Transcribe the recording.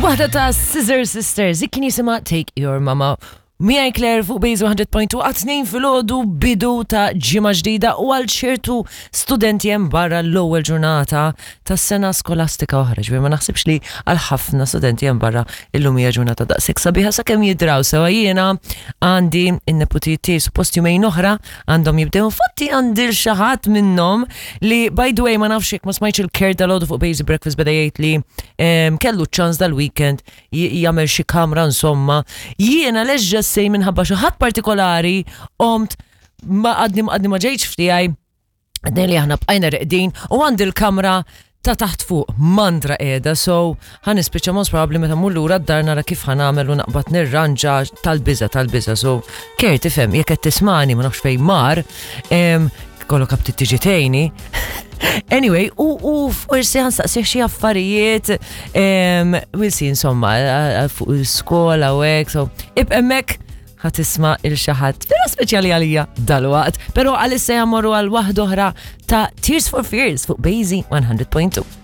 Waħda ta' Scissor Sisters, kien jisimha Take Your Mama. Miegħi Claire fuq Base 100.2 għat-tnejn filgħodu bidu ta' ġimgħa ġdida u għal ċertu studenti hemm barra l-ewwel ġurnata tas-sena skolastika oħra. Ġifieri ma naħsibx li għal ħafna studenti hemm barra illum hija ġurnata daqshekk sabiħa sakemm jidraw sewa jiena għandi n-neputijiet tiegħi suppost jumejn oħra għandhom jibdew. Infatti għandi l xi ħadd minnhom li by the way ma nafx jekk ma smajtx il-Kurt dalgħodu fuq Basic Breakfast beda jgħid li kellu ċans dal-weekend jagħmel xi kamra insomma. Jiena leġġa sej minħabba xi ħadd partikolari qomt ma għadni għadni ma ġejtx f'tiegħi għadni li aħna bqajna reqdin u għandi l-kamra ta' taħt fuq mandra qiegħda so ħa nispiċċa most probably meta mmur lura d-dar nara kif ħa nagħmel u naqbad nirranġa tal-biża tal-biża so Kert tifhem jekk qed tismani ma nafx fejn mar kollok aptit tiġi tgħinni. Anyway, u, u forsi ħansaqsih xi affarijiet, we'll see insomma, fuq il-skola u hekk, so ibqa' hemmhekk ħa tisma' il xi ħadd vera speċjali għalija dalwaqt, però għalissa jmorru għal waħda oħra ta' Tears for Fears fuq Bejzi 100.2.